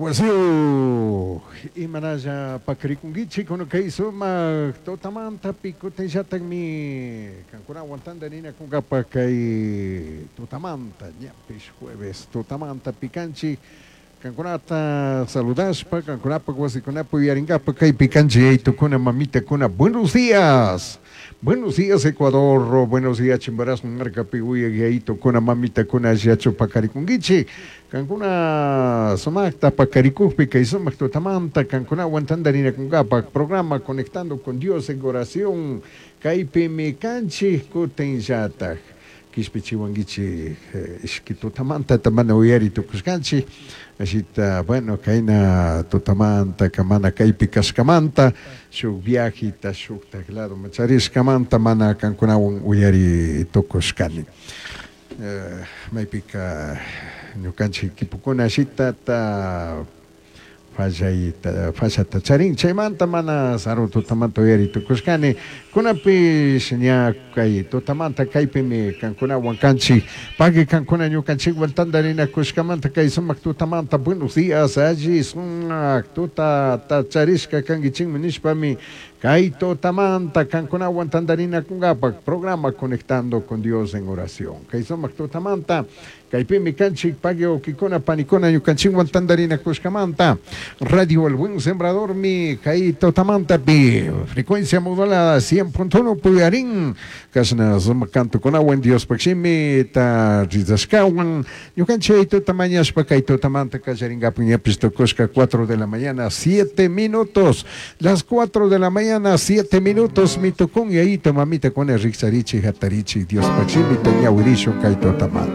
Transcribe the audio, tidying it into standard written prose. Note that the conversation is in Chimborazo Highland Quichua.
Wasiu imanalla pakarikunkichik kay sumak tutamanta kutinllatakmi kankunawan tantarinakunkapak kay tutamanta ñapish jueves tutamanta pikanchik kankunata saludashpa kankunapak wasikunapi uyarinkapak kaypi kanchik yaytukuna mamitakuna. Buenos días, buenos días Ecuador, buenos días Chimborazo markapi uyak yayitukuna mamitakuna allillachu pakarikunkichik kankuna sumakta pakarikukpi kay sumak tutamanta kankunawan tantarinakunkapak programa Conectando con Dios en Oración kaypimi kanchik kutinllatak kishpichiwankichik ishki tutamanta mana uyari tukushkanchik ashita bueno kayna tutamanta mana kaypi kashkamanta shuk viajita shuktak ladoman charishkamanta mana kankunawan uyari tukushkani maypika ñukanchik equipokuna ashitata fallayta fallata charin chaymanta mana sarun tutamanta uyari tukushkani kunapish ña kay tutamanta kaypimi kankunawan kanchik pagui kankuna ñukanchikwan tantarinakushkamanta kay sumak tutamanta. Buenos días, alli sumak tutata charishka kankichikmi nishpami kay tutamanta kankunawan tantarinakunkapak programa Conectando con Dios en Oración kay sumak tutamanta kaypimi kanchik pagui wawkikuna panikuna ñukanchikwan tantarinakushkamanta. Radio El Buen Sembrador mi kay tutamantapi frecuencia modulada 100.1 puyarin kashna sumak kantukunawan Diospak shimita rizashkawan ñukanchik tuta mañashpa kay tutamanta kallarinkapak ñapish tukushka 4 de la mañana 7 minutos, las 4 de la mañana 7 minutos mi tukun yayito mamitakuna rikcharichik hatarichik Diospak shimita ñawirishun kay tutamanta.